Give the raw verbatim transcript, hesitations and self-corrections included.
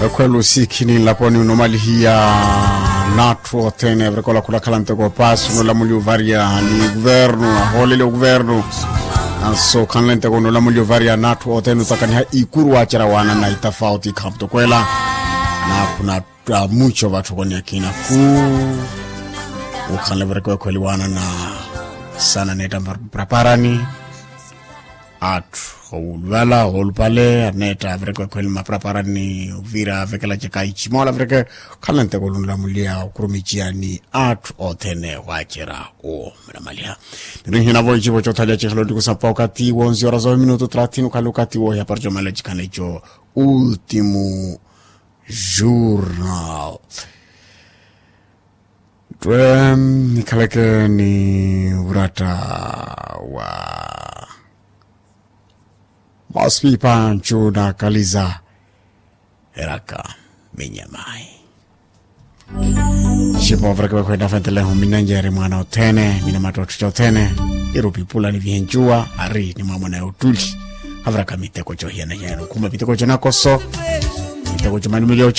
Ekhwelo sikhi ni nlaponi onomalihiya n'atthu othene avirikola khulakhala nteko paasi onolamuliwa ovarya ni kuvernu ahoolele okuvernu. Anso khanle nteko onolamuliwa ovarya n'atthu othene otakaniha ikuru waacera waana na itafauti ikhamutokwela. N'akhuna mucho vatthu okoni akina khu ukhanle viriko ekhweli waana na sana neetta mpraparani. Atthu owuluvala olupale aneetta avireko ekhweli maparaparani ovira avekelacaka ichimola avireke. Khala nteko olunlamuliya okhurumiciya ni atthu othene waacera owo mramaliha. Nirinhinavo icivo cothaliya cihela onikusa mpa okati wonsi ora zowe minutu thelathini okhale okati wohiya parcomela cikhana ico. Ultimu jurnal. Twe nikhaleke ni vuratta wa mospi panchu na kaliza eraka minyamayi. Xipo vureke vakhwenda fenteleho minanjeri mwana othene mina mattottho cothene. Irupi pula ni vihencuwa ari ni mwamona ya ottuli. Aviraka miteko cohiyana hiyana okhuma miteko conakoso miteko comanumeliyo co.